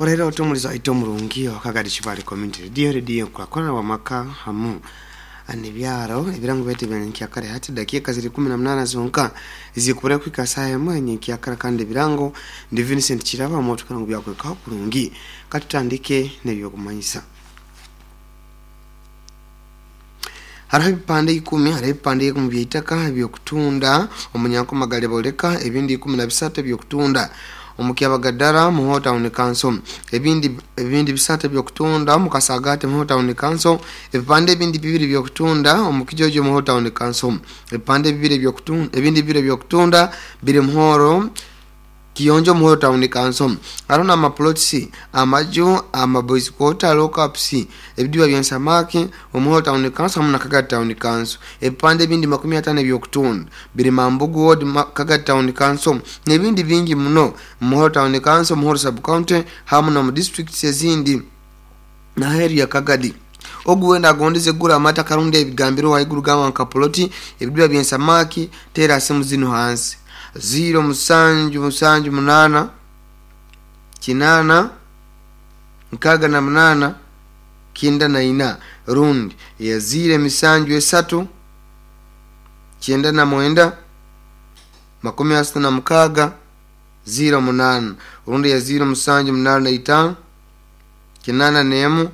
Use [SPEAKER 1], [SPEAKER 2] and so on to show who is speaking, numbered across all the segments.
[SPEAKER 1] Orero otomuliza ito omurungi wakagadi Kibale Community Radio, radio nkurakurana wamaka hamu nebyaro ebirango byaitu ebya hati dakiika ziri 18 zonka zikubura kuhika saaha emwe nyenkyakara. Kandi ebirango ndi Vincent Kiraba omutukana ngu byakwekaho kurungi. Katutandike nebyokumanyisa. Hariho ebipande 10, hariho ebipande 10 byaitaka ebyokutunda omunyankomagale boleka, ebindi 13 ebyokutunda omukyabagadara muho town council, ebindi 3 ebyokutunda omukasagate muho town council, ebipande ebindi 2 byokutunda omukijojo muho town council, ebipande 2 ebyokutunda, ebindi 2 ebyokutunda biri muhoro Kiyonjo muho town council. Hariho n'amaplots, amaju, amaboys quarter, lockups, ebidiba byensamaki omuho town council hamu na Kagadi town council. Ebipande ebindi 50 ebyokutunda biri Mambugu ward, Kagadi town council, n'ebindi bingi muno muhoro town council, muhoro sub county hamu n'omu districts ezindi naheru ya Kagadi. Ogu wenda agondeze gura amata karundi ebigambiro haiguru gamba nka ploti, ebidiba byensamaki, tera simu zino hansi 0 7 7 8 8 6 8 94 rundi ya 0 7 3 99 36 08 rundi ya 0 7 8 5 81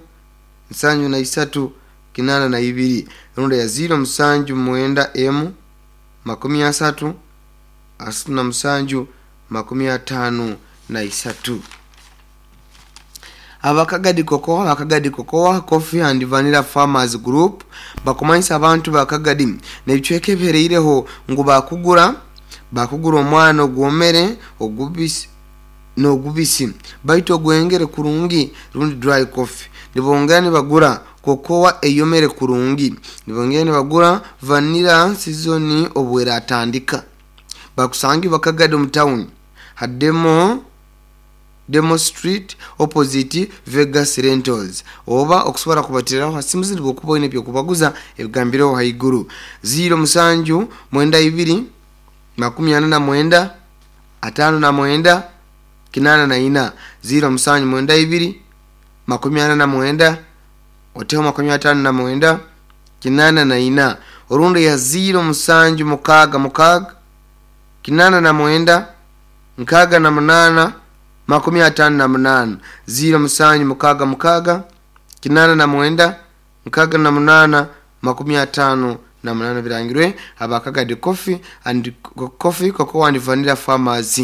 [SPEAKER 1] 73 82 rundi ya 0 7 9 1 30 37 53. Abakagadi Cocoa, Abakagadi Cocoa Coffee and Vanilla Farmers Group bakumanyisa abantu bakagadi nebicweka ebihereireho ngu bakugura omwana ogwomere ogubisi n'ogubisi baitu ogwengere kurungi rundi dry coffee. Nibongera nibagura kokoa eyomere kurungi, nibongera nibagura vanilla season obweratandika. Bakusangi bakagadi omu town hademo Demo Street opposite Vegas Rentals, oba okusobora kubatiriraho ha simu zindi bwokuba oine ebyokubaguza ebigambireho haiguru 0 7 92 49 59 84 0 7 92 49 oteho 59 84 orundi ya 0 7 6 6 89 68 58 0 7 6 6 89 68 58 birangirwe Abakagadi Coffee and Coffee Cocoa and Vanilla Farmers.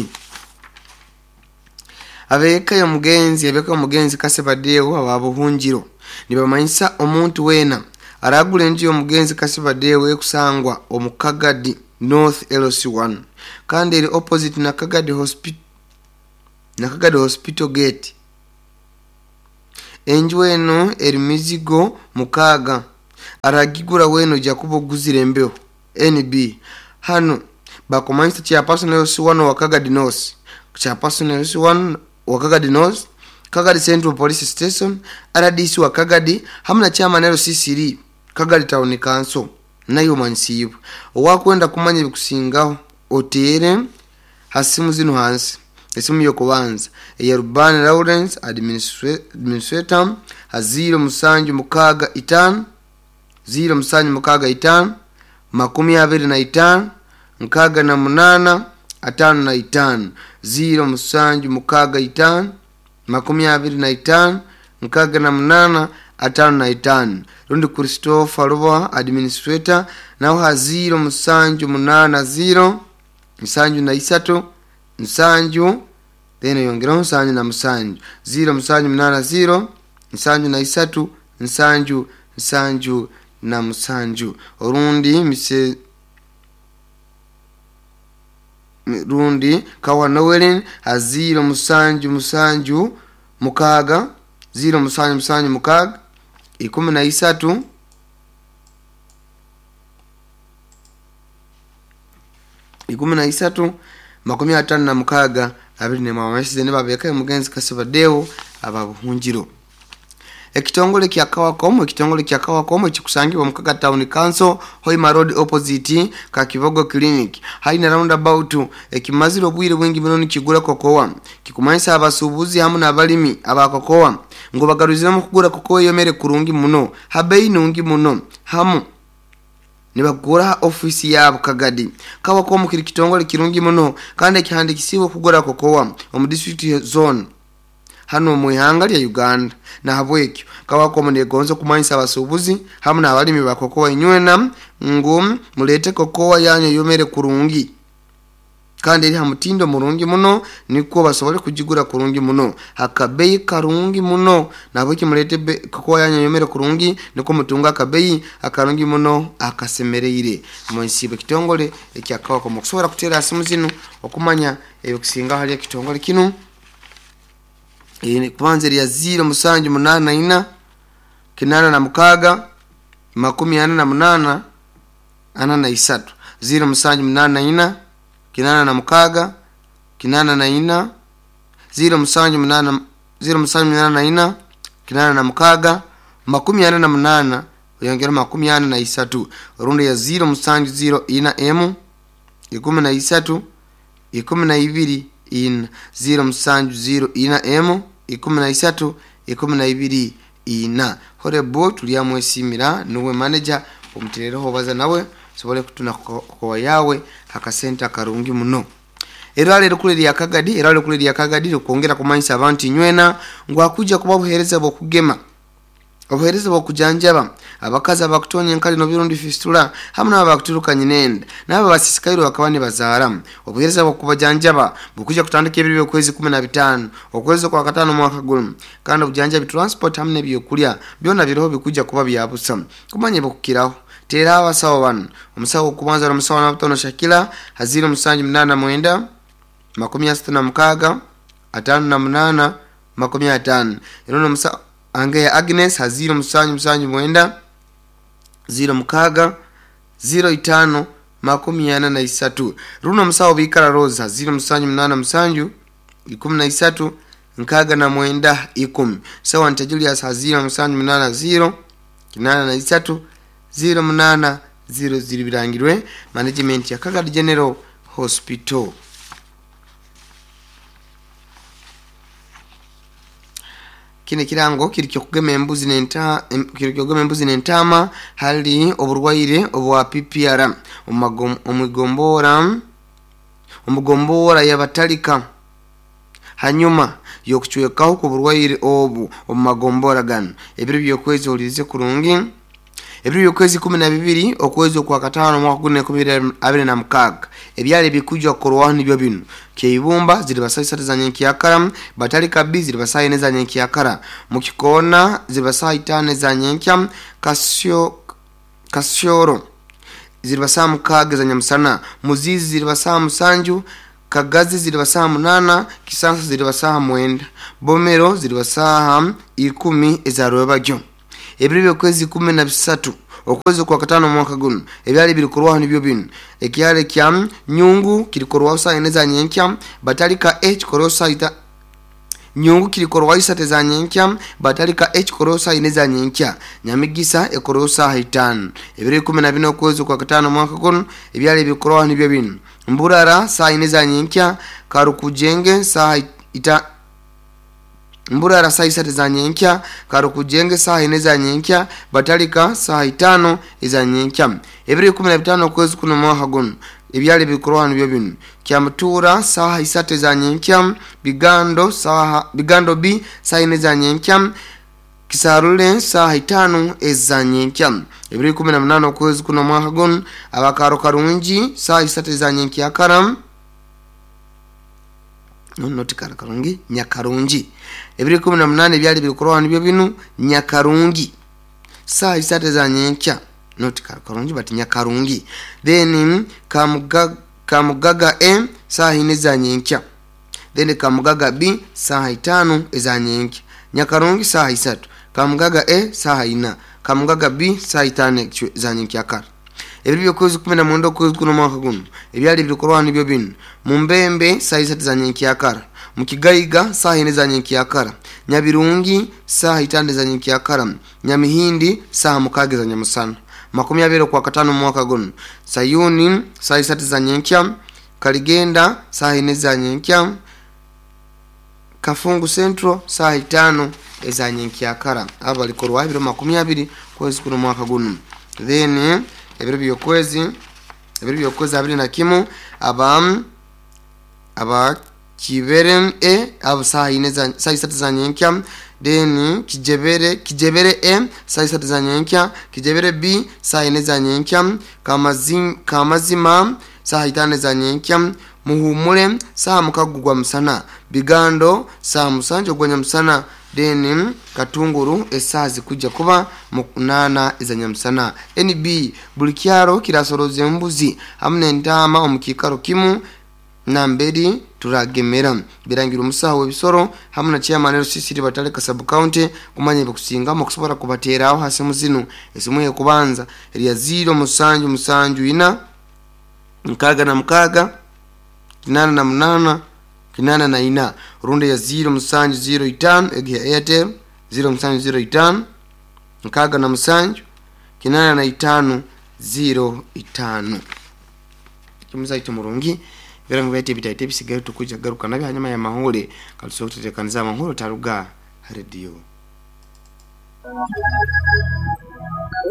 [SPEAKER 1] Abeka y'omugenzi, abeka y'omugenzi Kasebadeo ababuhungiro nibamanyisa omuntu wena aragura enju y'omugenzi Kasebadeo ekusangwa omu Kagadi North LC1 kandi eri opposite na Kagadi Hospital, na Kagadi Hospital Gate. Enju eno eri mizigo 6, aragigura weno jakuba oguzire embeho NB. Hano bakumanyisa chairperson LC1 wa Kagadi North, chairperson LC1 wa Kagadi North, Kagadi Central Police Station, RDC wa Kagadi hamu na chairman LC3 Kagadi Town Council nayo manyisibwe. Owakwenda kumanya ebikusingaho otere ha simu zino hansi. Esimu yokubanza eya Rubani Lawrence administrator ha 0 7 6 5 0 7 6 5 25 68 55 0 7 6 5 25 68 55 rundi Christopher Ruba administrator naho ha 0 7 8 0 73 7 then yongeraho 77 0 7 8 0 73 7 77 orundi mise rundi Kawa Noelin ha 0 7 7 6 0 7 7 6 13 13 56 21 babeka omugenzi Kasebadeo ababuhungiro. Ekitongole kya Kawacom, ekitongole kya Kawacom ekikusangibwa mu Kaga Town Council, Hoima Road opposite Kakivogo Clinic, haina roundabout. Ekimazire obwire bwingi muno nikigura kokowa, kikumanyisa abasuubuzi hamu n'abalimi aba kokowa ngu bagaruziremu kugura kokowa eyomere kurungi muno ha bei nungi muno, hamu nibagura ofisi yabo Kagadi. Kawacom kiri kitongole kirungi muno kandi ekihandikisiibwe kugura kokowa omu district zone hano mu ihanga lya Uganda. Nahabwekyo Kawacom negonza kumanyisa abasuubuzi hamu n'abalimi ba kokowa inywena ngu mulete kokowa yanyu eyomere kurungi kandi eri ha mutindo murungi muno, nikwo basobole kugigura kurungi muno akabeyi karungi muno. Nahabweki mulete kokowa yanyu eyomere kurungi, nikwo mutunga akabeyi akarungi muno akasemereire. Mwensiibwe ekitongole ekya Kawacom. Okusobora kuteera simu zinu okumanya ebikusingaho hali ekitongole kinu, kubanza erya 0784 86 48 43, 0784 86 84, 078 0784 86 48 oyongera 43, rundi ya 0704 emu 13 12 ina, 0704 emu 13 12 ina. Horebo tulyamwesimira, nuwe manager, omuterereho obaza nawe osobole kutuna kokowa yawe akasente akarungi muno. Erwala erikuru erya Kagadi, erwala erikuru erya Kagadi rikwongera kumanyisa abantu inywena ngu hakuja kuba obuheereza bw'okugema, obuheereza bw'okujanjaba abakazi abakutonya enkali n'obirundi fistula, hamu n'abo abakuturuka nyinenda n'abo abasisikaire bakaba nibazaara. Obuheereza bw'okubajanjaba bukuja kutandika ebiro by'okwezi 15 okwezi kwa katano mwaka guno, kandi obujanjabi, transport hamu n'ebyokulya byona biroho, bikuja kuba byabusa. Kumanya ebikukiraho, teera abasawo banu: omusawo okubanza n'omusawo Nabutono Shakila ha 0789 36 58 50, ero n'omusawo Angeya Agnes ha 0779 06 05 43, runo omusawo Bikara Rose ha 0787 13 69 10, sawa nta Julius ha 0780 83 08 00. Birangirwe management ya Kagadi General Hospital. Kino ekirango kiri kyokugema embuzi nenta kiri kyokugema embuzi n'entaama hali oburwaire obwa PPR omugombora yabatalika hanyuma y'okucwekaho kw'oburwaire obu omu magombora ganu. Ebiro by'okwezi, olirize kurungi, ebiro by'okwezi 12 okwezi okwa katano omwaka guno 2026, ebyali ebikujwa kukorwaho nibyo binu: Keibumba ziriba saa 3 za nyenkyakara, Batalika B ziriba saa 4 za nyenkyakara, Mukikoona ziriba saa 5 za nyenkya, Kasyoro ziriba saa 6 za nyamusana, Muzizi ziriba saa 7, Kagazi ziriba saa 8, Kisansa ziriba saa 9, Bomero ziriba saa 10 eza rwebagyo. Ebiro by'okwezi 13 okwezi kwa katano omwaka guno, ebyali birikorwaho nibyo binu: ekyalo kya Nyungu kirikorwaho saa 4 za nyenkya, Batalika A kikorwaho saa ita Nyungu kirikorwaho 3 za nyenkya, Batalika A kikorwaho saa 4 za nyenkya, Nyamigisa ekorwaho saa 5. Ebiro 14 okwezi kwa katano omwaka guno, ebyali birikorwaho nibyo binu: Mburara saa 4 za nyenkya, Karukujenge saa ita Mburara saa 3 za nyenkya, Karukujenge saa 4 za nyenkya, Batalika saa 5 eza nyenkya. Ebiro 15 okwezi kuno mwaka guno, ebyali bikorwa nibyo binu: Kyamutura saa 3 za nyenkya, Bigando saa Bigando B saa 4 za nyenkya, Kisarule saa 5 eza nyenkya. Ebiro 18 okwezi kuno mwaka guno, abakaro Karungi saa 3 za nyenkya kara no not Karungi, Nyakarungi. Ebiro 18 ebyali bikorwa nibyo binu: Nyakarungi saa 3 za nyenkya, not Karungi but Nyakarungi, then Kamugaga A saa 4 za nyenkya, then Kamugaga B saa 5 eza nyenkya, Nyakarungi saa 3, Kamugaga A saa 4, Kamugaga B saa 5 za nyenkya kara. Ebiro by'okwezi 19 okwezi kuno mwaka guno, ebyali bikorwa nibyo binu: Mumbembe saa 3 za nyenkyakara, Mukigaiga saaha ine za nyenkyakara, Nyabirungi saaha itano eza nyenkyakara, Nyamihindi saaha 6 za nyamusana. 20 kwa katano mwaka guno, Sayuni saaha 3 za nyenkya, Kaligenda saaha 4 za nyenkya, Kafungu Central saaha 5 eza nyenkyakara. Aba balikorwa ebiro 20 kwezi kuno mwaka guno. Then ebiro byokwezi 21 aba Kibere E abo saaha 4 za saaha 3 za nyenkya, then Kijebere E saaha 3 za nyenkya, Kijebere B saaha 4 za nyenkya, Kamazima saaha 5 za nyenkya, Muhumure saaha 6 gwa musana, Bigando saaha 7 gwa nyamusana, then Katunguru esaha zikuja kuba 8 eza nyamusana. NB buli kyaro kirasoroza embuzi hamwe n'entaama omu kiikaro kimu namberi turagemera. Birangira omusaho w'ebisoro hamwe na chairman LCC Bataleka sub county kumanya ebikusingamu okusobola kubateeraho ha simu zinu. Esimu ey'okubanza erya 0 7 7 4 6 6 8 8 84, rundi ya 0 7 0 5 egi ya Airtel 0 7 0 5 67 85 0 5. Kimuzaito murungi birango byate bitaite bisigaye tukuja garuka nabyo hanyuma ya mahule katusobola kutetekaniza amahule taruga radio.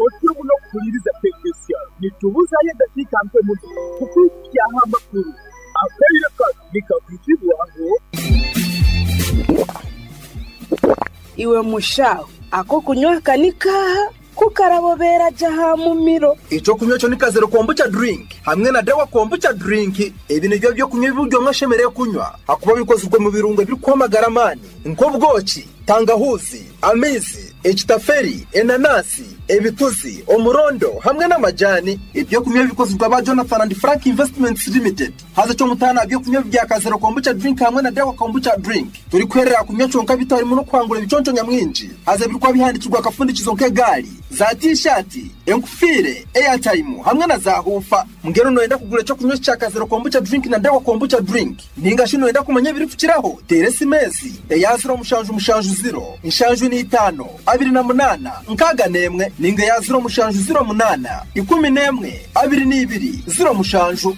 [SPEAKER 2] Otyo muno kuhuliriza tekinisiya nitubuzayo edakiika mpe muno kukwikyaho amakuru akaire kano nikakuzibwaho.
[SPEAKER 3] Iwe mushaho ako kunywa kanikaha kukarabobera jaha mumiro.
[SPEAKER 4] Icyo kunywa cyo ni kazero kombucha drink hamwe na dawa kombucha drink. Ebi nibyo byo kunywa ibiryo mwashemereye kunywa akuba bikozwe mu birungo biri kwamagara amani nk'ubwoki, tangahuzi, amizi, ekitaferi, enanasi, ebituzi, omurondo hamwe n'amajani. Ibyo kunywa bikozwe ba Jonathan and Frank Investments Limited. Haza cyo mutana byo kunywa bya kazero kombucha drink hamwe na dawa kombucha drink turi kwerera kunywa cyonka bitarimo no kwangura ibiconco nyamwinji. Haza birikwa bihandikirwa akafundikizo nk'egari za t-shirt, enkufire, airtime hamwe na za hufa. Mngero noenda kugura cyo kunywa cya kazero kombucha drink na dawa kombucha drink ninga shino enda kumanya biri kukiraho teresi mezi eya 0 7 7 0 7 5 28 61 ninga ya 0 7 0 8 11 22 0 7.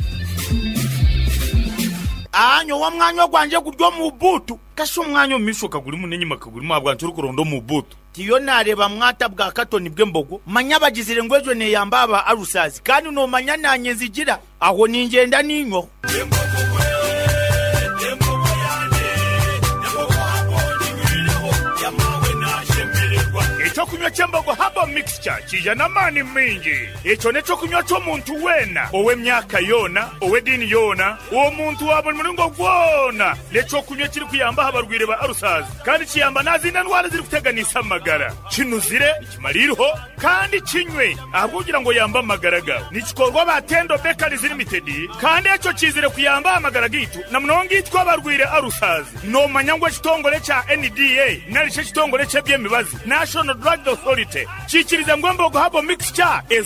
[SPEAKER 5] Anyo wa mwanyo gwanje guryo mu butu kasho umwanyo mishoka guri munenyi makaguri mabwa kurondo mu butu tiyo nareba mwata bwa katoni bw'embogo manya bagizire ngwejo ne yambaba arusazi kandi no manya nanye nzigira aho ningenda ninyo.
[SPEAKER 6] Ekyokunywa ky'embogo habo mixture kija n'amaani mingi. Ekyo n'ekyokunywa ky'omuntu weena ow'emyaka yoona ow'eddiini yoona omuntu wa buli muringo gwona. N'ekyokunywa kiri kuyamba abarwire ba arusazi kandi kiyamba n'azindi ndwara ziri kuteganisa amagara. Kinuzire kimaliriho kandi kinywe ahabw'okugira ngo yambe amagara gawe. Nikikorwa ba Tendo Bakeries Limited kandi ekyo kizire kuyamba amagara gitu na munonga itwa abarwire arusazi. Nomanya ngu ekitongore kya NDA nari ekitongore ky'ebyemibazi National Drug Authority kikiriza ngo embogo habo mixture ezo